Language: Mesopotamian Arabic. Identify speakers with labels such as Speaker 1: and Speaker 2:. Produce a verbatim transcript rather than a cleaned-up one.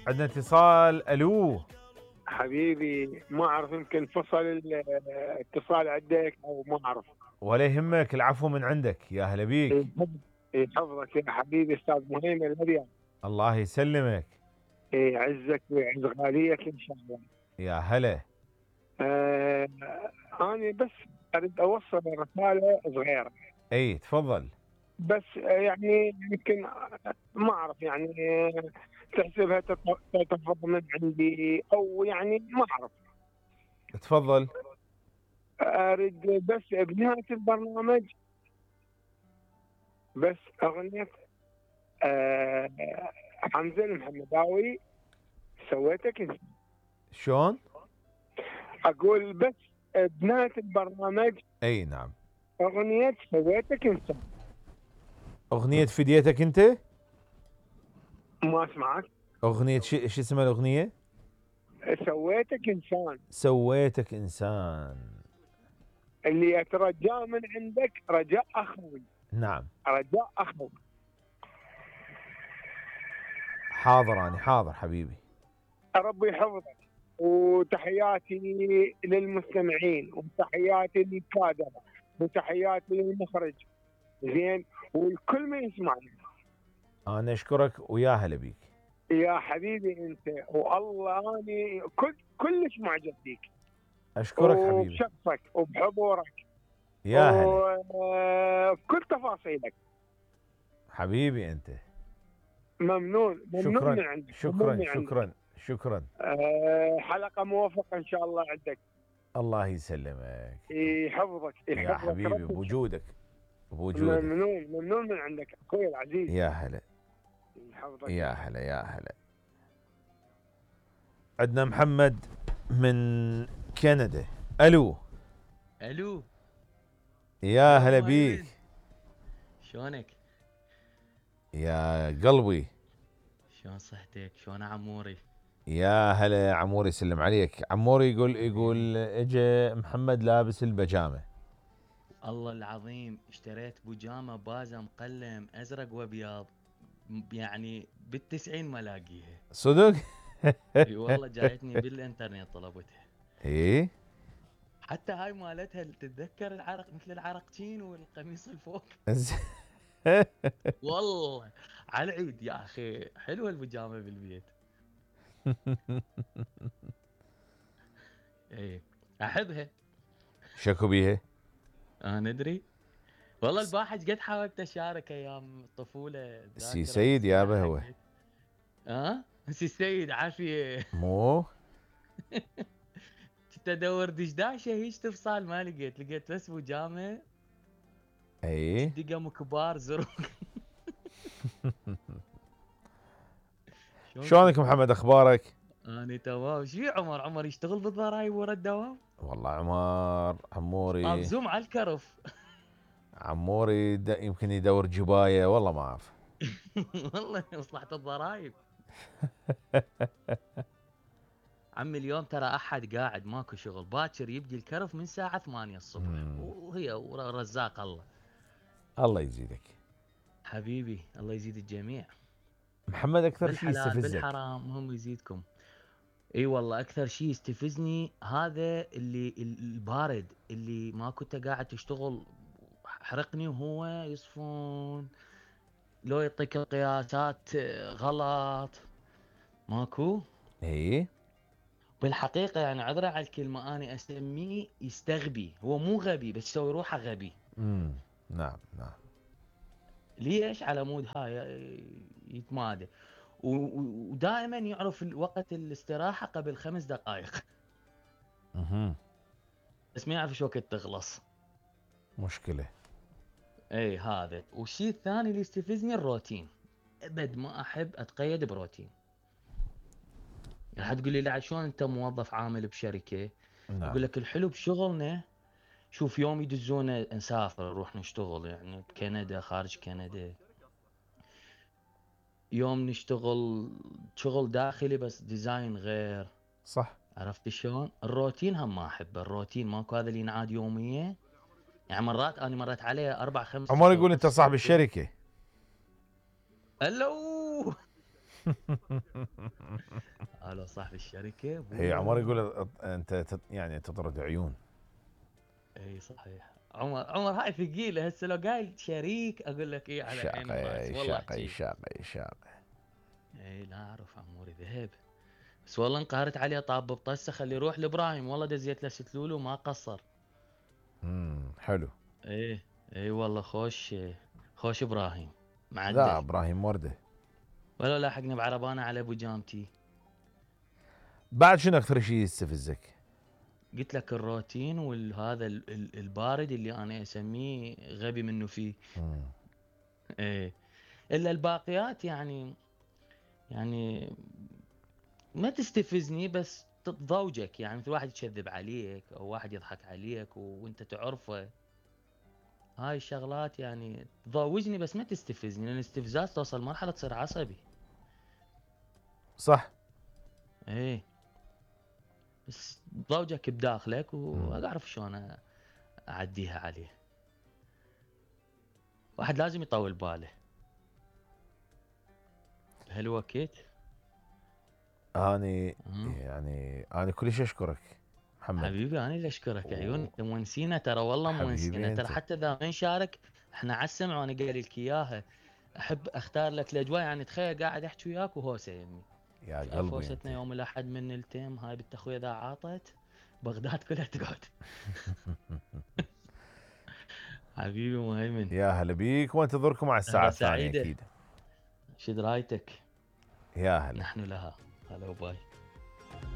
Speaker 1: عندنا اتصال. الو
Speaker 2: حبيبي، ما اعرف يمكن فصل الاتصال عندك او ما اعرف.
Speaker 1: ولا يهمك، العفو من عندك. يا هلا بيك.
Speaker 2: يحفظك يا حبيبي استاذ مهيمن الهديان.
Speaker 1: الله يسلمك.
Speaker 2: يعزك ويعز غاليك ان شاء الله.
Speaker 1: يا هلا.
Speaker 2: آه انا بس اريد اوصل رساله صغيره.
Speaker 1: اي تفضل.
Speaker 2: بس يعني يمكن ما اعرف يعني تحسبها تتفضل من عندي او يعني ما اعرف.
Speaker 1: تفضل.
Speaker 2: اريد بس بنهايه البرنامج بس اغنيه آه حمزه المحمداوي سويتك انت.
Speaker 1: شلون؟
Speaker 2: اقول بس بنهايه البرنامج.
Speaker 1: اي نعم.
Speaker 2: اغنيه سويتك انت.
Speaker 1: اغنية فديتك انت؟
Speaker 2: ما اسمعك.
Speaker 1: اغنية شو ش اسمها الاغنية؟
Speaker 2: سويتك انسان.
Speaker 1: سويتك انسان.
Speaker 2: اللي اترجاه من عندك رجاء اخوي.
Speaker 1: نعم.
Speaker 2: رجاء اخوي.
Speaker 1: حاضر اني حاضر حبيبي.
Speaker 2: ربي يحفظك. وتحياتي للمستمعين وتحياتي للكادر وتحياتي للمخرج زين والكل ما يسمعني.
Speaker 1: انا اشكرك ويا هلا بيك
Speaker 2: يا حبيبي انت والله اني كل كلش معجب فيك.
Speaker 1: اشكرك حبيبي.
Speaker 2: وبشخصك وبحضورك.
Speaker 1: يا هلا.
Speaker 2: وبكل تفاصيلك.
Speaker 1: حبيبي انت.
Speaker 2: ممنون ممنون
Speaker 1: شكرا
Speaker 2: من عندك.
Speaker 1: شكرا
Speaker 2: من
Speaker 1: شكرا
Speaker 2: عندك.
Speaker 1: شكرا.
Speaker 2: أه حلقة موفقة ان شاء الله عندك.
Speaker 1: الله يسلمك.
Speaker 2: يحفظك يحفظك
Speaker 1: يا حبيبي بوجودك بوجودك.
Speaker 2: ممنون ممنون من عندك اخوي العزيز.
Speaker 1: يا هلا.
Speaker 2: يحفظك.
Speaker 1: يا هلا يا هلا. عندنا محمد من كندا. الو.
Speaker 3: الو.
Speaker 1: يا هلا بيك.
Speaker 3: شلونك؟
Speaker 1: يا قلبي.
Speaker 3: شلون صحتك؟ شلون عموري؟
Speaker 1: يا هلا يا عموري، يسلم عليك. عموري يقول يقول اجى محمد لابس البجامه.
Speaker 3: الله العظيم اشتريت بجامه بازه مقلم ازرق وابيض يعني بالتسعين ما لاقيها.
Speaker 1: صدق؟
Speaker 3: اي والله جايتني بالانترنت طلبتها.
Speaker 1: ايه
Speaker 3: حتى هاي مالتها تتذكر العرق مثل العرقتين والقميص الفوق. والله على العيد يا اخي حلوه البجامه بالبيت. ايه احبها.
Speaker 1: شكو بيها؟
Speaker 3: اه ندري والله الباحث قد حاولت اشارك ايام الطفوله.
Speaker 1: سي سيد يابا هو.
Speaker 3: اه سي سيد عافيه.
Speaker 1: مو
Speaker 3: كنت ادور دشداشه هيج تفصال ما لقيت لقيت بس بجامه.
Speaker 1: اي
Speaker 3: دقم كبار زرق.
Speaker 1: شلونك محمد اخبارك؟
Speaker 3: اني تمام. شو عمر عمر يشتغل بالضرايب ورا الدوام؟
Speaker 1: والله عمار عموري
Speaker 3: مابزوم على الكرف.
Speaker 1: عموري يمكن يدور جبايه والله ما اعرف.
Speaker 3: والله مصلحة الضرايب. عمي اليوم ترى احد قاعد ماكو شغل باكر يبدي الكرف من ساعة ثمانية الصبح. مم. وهي رزاق الله.
Speaker 1: الله يزيدك
Speaker 3: حبيبي. الله يزيد الجميع.
Speaker 1: محمد اكثر شيء يستفزك؟
Speaker 3: بالحرام هم يزيدكم. اي والله اكثر شيء يستفزني هذا اللي البارد اللي ما كنت قاعد تشتغل حرقني وهو يصفون لو يعطيك القياسات غلط ماكو.
Speaker 1: ايه
Speaker 3: بالحقيقه يعني عذرا على الكلمه انا اسميه يستغبي. هو مو غبي بس يسوي روحه غبي.
Speaker 1: امم نعم نعم.
Speaker 3: ليش؟ على مود هاي يتمادى ودائما يعرف وقت الاستراحه قبل خمس دقائق.
Speaker 1: اها
Speaker 3: بس ما يعرف شو وقت تخلص.
Speaker 1: مشكله.
Speaker 3: اي هذا. والشيء الثاني اللي يستفزني الروتين. ابد ما احب اتقيد بروتين. راح تقول لي لا شلون انت موظف عامل بشركه؟ نعم. اقول لك الحلو بشغلنا شوف يوم يدزونا نسافر نروح نشتغل يعني بكندا خارج كندا. يوم نشتغل شغل داخلي بس ديزاين غير.
Speaker 1: صح.
Speaker 3: عرفت شلون؟ الروتين هم ما احبه. الروتين ماكو هذا اللي ينعاد يوميه. يعني مرات انا مرت عليه اربع خمس.
Speaker 1: عمر يقول انت صاحب الشركه.
Speaker 3: الو. هذا صاحب الشركه ابويا.
Speaker 1: هي عمر يقول انت تت- يعني تطرد عيون.
Speaker 3: اي صحيح. عمر عمر هاي ثقيله هسه لو قايل شريك اقول لك اي على عيني وراسي
Speaker 1: شاقي
Speaker 3: والله
Speaker 1: شاقي
Speaker 3: احكي.
Speaker 1: شاقي شاقي.
Speaker 3: اي لا اعرف عموري ذهب. بس والله انقهرت عليه طاب بطسه خليه يروح لابراهيم والله دزيت له ست لولو ما قصر.
Speaker 1: امم حلو.
Speaker 3: ايه اي والله خوش خوش ابراهيم
Speaker 1: لا
Speaker 3: معدل.
Speaker 1: ابراهيم ورده.
Speaker 3: ولا لاحقني بعربانه على ابو جامتي.
Speaker 1: بعد شنو اكثر شيء يستفزك؟
Speaker 3: قلت لك الروتين وهذا ال- ال- البارد اللي انا اسميه غبي منه فيه.
Speaker 1: مم.
Speaker 3: ايه الا الباقيات يعني يعني ما تستفزني بس تضوجك يعني مثل واحد يكذب عليك او واحد يضحك عليك وانت تعرفه. هاي الشغلات يعني تضوجني بس ما تستفزني لان الاستفزاز توصل مرحله تصير عصبي.
Speaker 1: صح.
Speaker 3: ايه بس ضوجك بداخلك واعرف شلون اعديها عليه. واحد لازم يطول باله بهالوقت.
Speaker 1: اني
Speaker 3: مم.
Speaker 1: يعني انا كلش اشكرك محمد.
Speaker 3: حبيبي انا اللي اشكرك عيون.
Speaker 1: و-
Speaker 3: انت مونسينا ترى والله
Speaker 1: حبيبي
Speaker 3: مونسينا ترى
Speaker 1: أنت.
Speaker 3: حتى اذا ما نشارك احنا على السمع وانا قايل لك اياها. احب اختار لك الاجواء يعني تخيل قاعد احكي وياك وهوسه يمي.
Speaker 1: يا قلبي
Speaker 3: فوستنا
Speaker 1: أنت.
Speaker 3: يوم الاحد من التيم هاي بنت اخوي اذا عاطت بغداد كلها تقعد. حبيبي مهيمن.
Speaker 1: يا هلا بيك وانتظركم على الساعه
Speaker 3: سهرة
Speaker 1: الثانيه
Speaker 3: سعيدة.
Speaker 1: اكيد.
Speaker 3: شد رايتك
Speaker 1: يا هلا.
Speaker 3: نحن لها. هلا وباي.